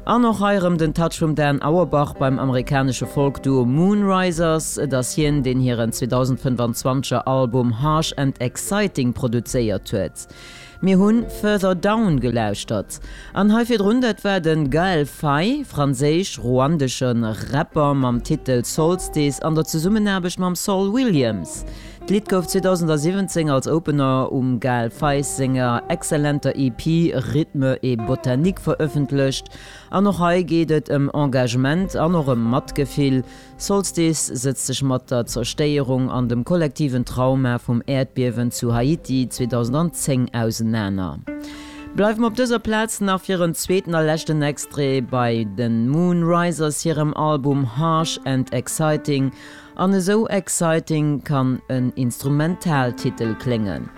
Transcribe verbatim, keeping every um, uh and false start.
An och hei erëm den Touch vum Dan Auerbach beim amerikanesche Folk-Duo Moonrisers. Et ass hien, deen hiren zweedausendfënfanzwanzeger Album Harsh and Exciting produzéiert huet. Mir hunn Further Down gelauschtert. An hei virdrun, dat war de Gaël Faye, franséisch-ruandesche Rapper mam Titel Solstice an der Zesummenaarbecht mam Saul Williams. D'Lidd gouf zweedausendsiwwenzéng als Opener um Gaël Faye senger exzellenter E P Rythme et Botanique verëffentlecht. An och hei geet et ëm Engagement an och ëm Matgefill. Solstice sëtzt sech mat der Zerstéierung an dem kollektiven Trauma vum Äerdbiewen zu Haiti zweedausendzéng ausenaner. Bleiwe mer op dëser Plaz nach fir en zweeten a leschten Extrait bei den Moonrisers hirem Album Harsh and Exciting. An esou exciting kann en Instrumentaltitel kléngen.